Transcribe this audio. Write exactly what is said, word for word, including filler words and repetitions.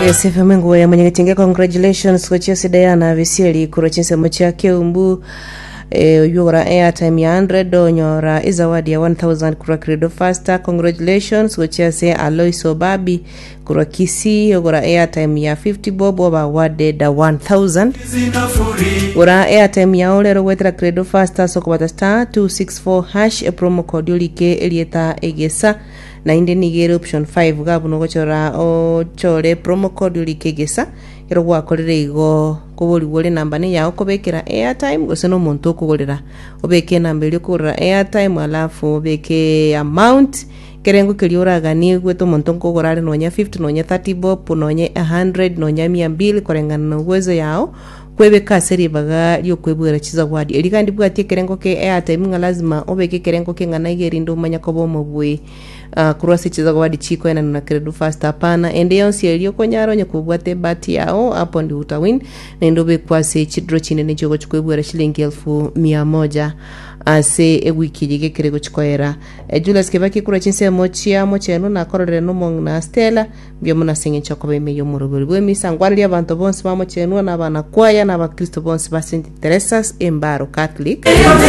Yes, F M nguo ya mwenyegetinge. Congratulations gochia ase Diana Bisieri korwa chinsemo chia Keumbu, eh, oywo airtime ya one hundred onyora ezawadi ya one thousand korwa Credo Faster. Congratulations gochia ase Alois Obabi korwa Kisii, ogora airtime ya fifty bob oba awarded one thousand. Gora airtime yao rero gwetera Credo Faster ase okobata star two six four hash, epromo code orike erieta Egesa, nainde nigo ere option five gabu nogochora ochore promo code orike Egesa. Ero gwakorire igo, koborigwa ore namba ne yao kobekera airtime gose na omonto okogorera, obeke enamba eria okogorera airtime, alafu obeke amount kerengo keria oraganie gwete omonto nkogora are, nonya fifty, nonya thirty bob, nonya one hundred, nonya mia mbili, koreng'ana na uwezo yao kwebeka ase ribaga riokwebwera chizawadi. Eri kandi bwati ekerengo ke airtime ng'a lazima obeke ekerengo keng'ana iga erinde omanye koba omobui uh, korwa ase chizawadi chikoenana na Credo Fast. Hapana, ende yonsi eri okonyara onye kobwate ebahati yao, hapo ndi utawin, naende obekwa ase chidraw chinene chiogochi kwebwera shilingi elfu mia moja ase ewiki eye gekere gochikoera. eh, Julius Kibaki kurwa chinsemo chia Mocheno nakororere nomong'ina Stella, mbuya mono ase eng'encho okoba ime y'omorobori bw'emisa. Ngwanirie abanto bonsi ba Mochenwa na abana kwaya na abakristo bonsi ba Saint Teresa's Embaro Catholic.